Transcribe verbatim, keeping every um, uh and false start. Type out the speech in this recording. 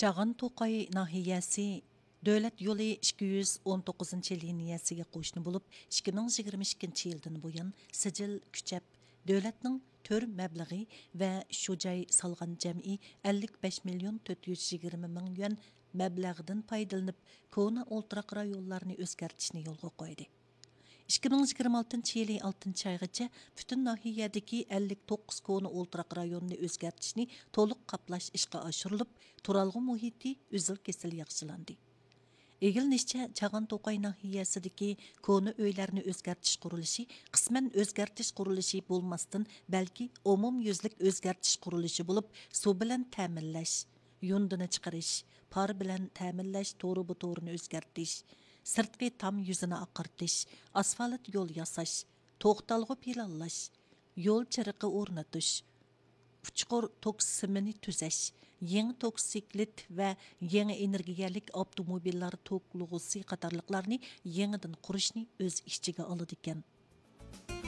چاغان توقاي ناھىيەسى دۆلەت يولى ئىككى يۈز ئون توققۇزىنچى لىنىيەسىگە قوشنا بولۇپ، ئىككى مىڭ يىگىرمە ئىككىنچى يىلدىن بۇيان سىجىل كۈچەپ، دۆلەتنىڭ تۈر مەبلىغى ۋە شۇ جاي سالغان جەمئىي ئەللىك بەش مىليون تۆت يۈز يىگىرمە مىڭ يۈەن مەبلەغدىن پايدىلىنىپ، كونا ئولتۇراق رايونلارنى ئۆزگەرتىشنى يولغا قويدى. ئىككى مىڭ يىگىرمە ئالتىنچى يىلى ئالتىنچى ئايغىچە پۈتۈن ناھىيەدىكى ئەللىك توققۇز كونا ئولتۇراق رايونىنى ئۆزگەرتىشنى تولۇق قاپلاش ئىشقا ئاشۇرۇلۇپ، تۇرالغۇ مۇھىتى ئۈزۈل كېسىل ياخشىلاندى. ئىگىلىنىشىچە، چاغان توقاي ناھىيەسىدىكى كونا ئۆيلەرنى ئۆزگەرتىش قۇرۇلۇشى قىسمەن ئۆزگەرتىش قۇرۇلۇشى بولماستىن، بەلكى ئومۇميۈزلۈك ئۆزگەرتىش قۇرۇلۇشى بولۇپ، سۇ بىلەن تەمىنلەش، يۇندىنى چىقىرىش، پار بىلەن تەمىنلەش تورۇبا تورىنى ئۆزگەرتىش، سىرتقى تام يۈزىنى ئاقارتىش، ئاسفالت يول ياساش، توختالغۇ پىلانلاش، يول چىرىقى ئورنىتىش، ئۇچقۇر توك سىمىنى تۈزەش، يېڭى توكسىكلىت ۋە يېڭى ئېنېرگىيەلىك ئاپتوموبىللار توكلىغۇسى قاتارلىقلارنى يېڭىدىن قۇرۇشنى ئۆز ئىچىگە ئالىدىكەن.